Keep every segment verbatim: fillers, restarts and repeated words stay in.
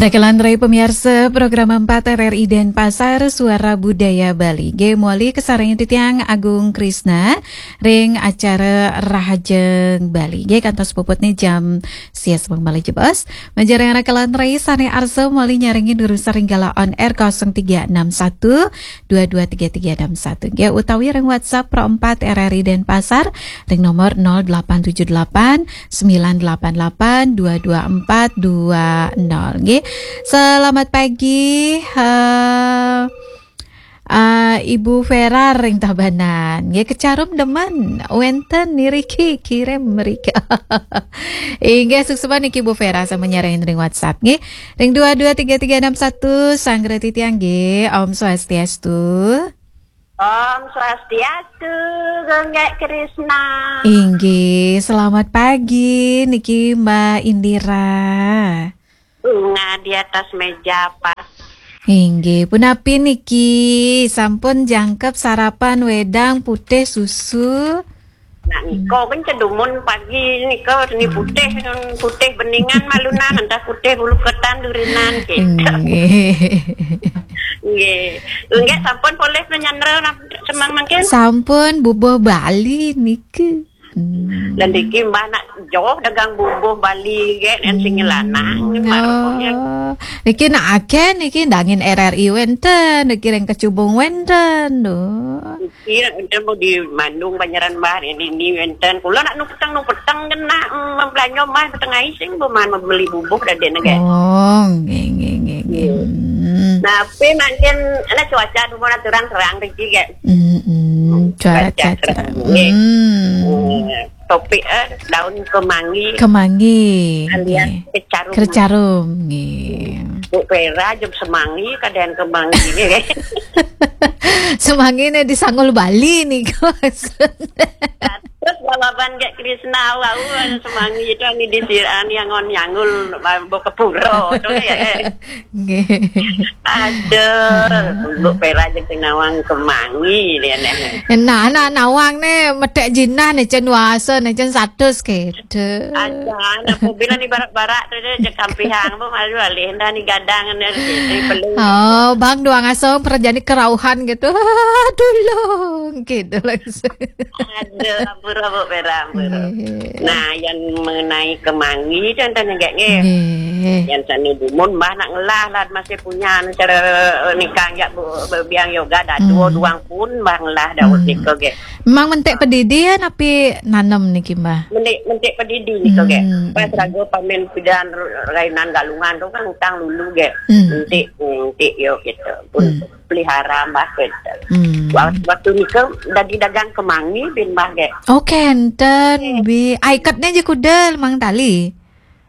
Rekelan rai pamiarsa program empat R R I Denpasar, Suara Budaya Bali. Nggih, mawali kasarengin titiang Agung Krisna ring acara Rahajeng Bali. Nggih, kantos puputne jam sia semeng malih jebos. Majeng ring rekelan rai sane arsa mawali nyarengin durusang ring galah on air kosong tiga enam satu dua dua tiga tiga enam satu. Nggih, utawi ring WhatsApp Pro empat R R I Denpasar ring nomor nol delapan tujuh delapan sembilan delapan delapan dua dua empat dua nol. Nggih. Selamat pagi, eh, eh, Ibu Vera ring Tabanan. Nggih, kacarum demen. Wenten niriki kirim mrika. Inggih, suksma niki Bu Vera sampun nyarengin ring WhatsApp nggih. Ring dua dua tiga tiga enam satu, sanggra titiang nggih. Om Swastiastu. Om Swastiastu, Gung Gek Krisna. Inggih, selamat pagi niki Mbak Indira. Bunga di atas meja pas. Inggih, punapi niki sampun jangkep sarapan wedang putih susu? Nah, niko kan cedumun pagi niko ni putih, putih beningan malunan, entah putih bulu ketan durinan gitu. Nggih. Nggih. Nggih, sampun polih penyandra semang mangkin? Sampun bubuh Bali niki. Hmm. Dan niki Mbah nak joh dagang bubuh Bali ge, yang sing lanang, Mbah rupanya. Oh. Niki nak akeh niki dangin R R I wenten, niki ring kecubung wenten, duh. Iya, enten mau di Bandung, Banjaran Mbah, ini, ini enten. Kula nak nu peteng, nu peteng kan nak, mm, belanja Mbah peteng ai sing, bu man beli bubuh dadi nege. Oh, nggih, nggih, nggih, nggih. Hmm. Nah, pe mangkin ana cuaca dumun aturan terang riki ge. Hmm, hmm. Cuaca cuaca terang. Nggih. Hmm. Hmm. Topik, eh, daun kemangi. Kemangi. Alias nggih. Kecarum. Kecarum, nggih. Bu Vera jam semangi, kadang kemangi, nggih. Semangi ne di Sanggul Bali nih, Kos. Terus balaban Gek Krisna, wau, semangi itu ani di sir-, ani angon nyanggul, bo kepuro, tuh ya. Nggih. Aduh, Bu Vera jeung sing nawang kemangi dia nih. Nah, nah, nawang ne medek jinah ne, cen wasa ne, cen satus gitu. Aja, nah, mobilan di barak-barak tuh dia jeung kampihang, bu malu alih, dah ni gadang ne, di beli. Oh, Bang Duang Asong perjani kerauhan gitu. Tulung gitu langsung. Aduh, ampura, Bu Vera, ampura. Nggih. Nah, yang mengenai kemangi, contohnya, nggih, nggih. Nggih. Yang sane dumun, Mbah nak ngelah lah, masih punya, anu, cara, eh, nikah, nggak, Bu, biang yoga, dah dua, hmm, duang pun, Mbah ngelah, dah, hmm, nika, nggih. Memang mentik pedidi ya, napi nanem niki, Mbah? Mentik, mentik pedidi nika, nggih. Hmm, pas hmm, raga pamen pidan rainan galungan tu kan utang lulu, nggih. Hmm. Mentik, mentik, yo, gitu. Pun. Hmm. Pelihara Mbah kenten. Hmm. Wa-, waktu nika dadi dagang kemangi bin Mbah ge. Oh, kenten, nggih. Bi. Ai, iketne je kuda limang tali.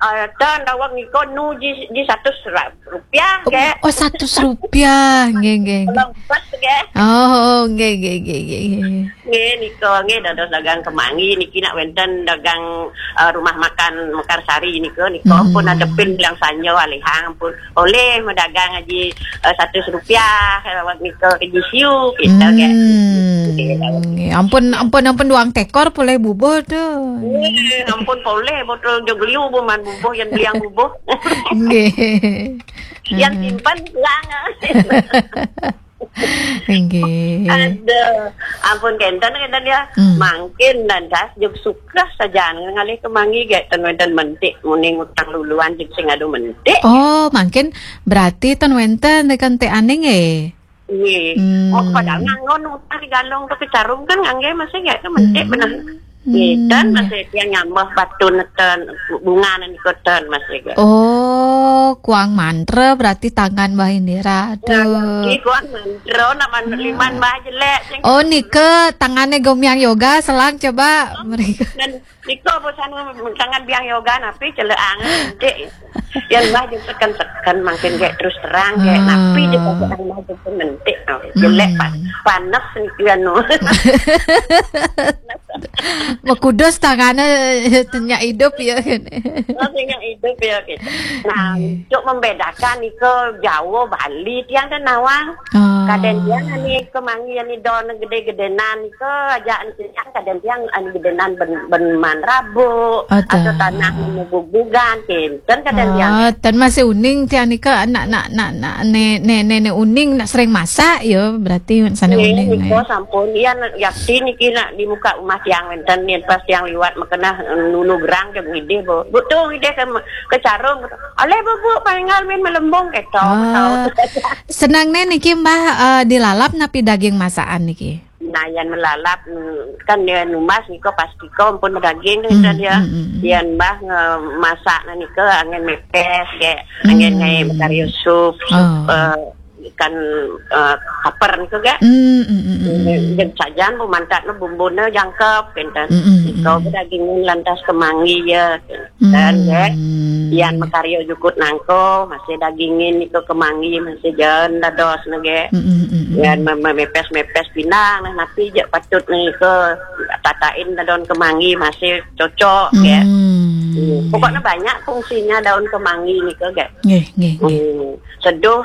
Ah, ten daweg nika nu ji, ji satus ra-, rupiah ge. Oh, oh, satus rupiah. Nggih, nggih, nggih. Kalau empat ge. Oh, nggih, nggih, nggih, nggih, nggih. Nggih, nika nggih dados dagang kemangi niki nak wenten dagang, eh, rumah makan Mekarsari nika, nika, hmm, pun ada pin bilang sanja alihang pun. Oleh medagang aji, eh, satus rupiah, awak nika ke G C U, kita, hmm, kan. Nggih, ampun, ampun, ampun, duang tekor polih bubuh tu. Nggih, ampun polih botol jog liu bu man bubuh, yang beliang bubuh. Nggih. Yang simpan kurang. Nggih. Aduh, ampun kenten, kenten ya. Hmm. Mangkin dan das jog suka saja ngalih kemangi ge ten wenten mentik, muning utang luluan jog sing adu mentik. Oh, mangkin berarti ten wenten tekan te aning eh. Nggih. Hmm. Oh, padahal ngangon utang di galong tu kecarum kan ngangge masih ge tu mentik benar. Hmm. Nggih, ten masih tiang nyambah batu neten bunga nika ten masih ge. Oh, kuang mantra berarti tangan Mbah Indira. Aduh. Nggih, kuang mantra nak man-, hmm, liman Mbah jelek sing. Oh, nika tangane gomiang yoga selang coba mereka. Dan nika bosan tangan biang yoga napi celeang mentik. Yang Mbah jeung seken-seken mangkin ge terus terang ge. Ah. Napi je pakai Mbah jeung mentik. Oh, jelek, hmm, pa-, panas niki anu. Makudus tangannya, tenyak hidup ya kan. Masih ingat hidup ya kita. Nah, untuk membedakan iko Jawa Bali tiang dan nawang. Kadang tiang ani kemangi ani don gede-gedenan iko aja ani tiang kadang tiang ani gedenan ben, ben manrabu atau tanah menububugan kinten kadang tiang. Oh, tan masih uning tiang nika nak nak nak nak ne ne ne, ne uning nak sering masak ya berarti sana uning. Niko sampun iya nak yakti niki nak di muka rumah tiang wenten nih pas tiang liwat makena nunu gerang ke ngidih bu. Bu tu ngidih ke ke carung. Aleh bu bu pangal min melembung keto. Senang ne niki mbah eh, dilalap napi daging masakan niki. Nah, yan melalap mm, kan dia numbas niko pasti ko pun daging kan dia. Yan mbah ngemasak nah niko angin mepes ke angin ngai mekario sup, sup eh, ikan eh, kaper niko ga. Jeung sajan bu mantat no bumbune jangkep kinten. Niko daging lantas kemangi ya. Dan ge, yan mekario jukut nangko masih dagingin niko kemangi masih jalan dados nege. Yan mepes-mepes pinang nah napi je patut niko tatain daun kemangi masih cocok ya. Pokoknya banyak fungsinya daun kemangi niko ge. Seduh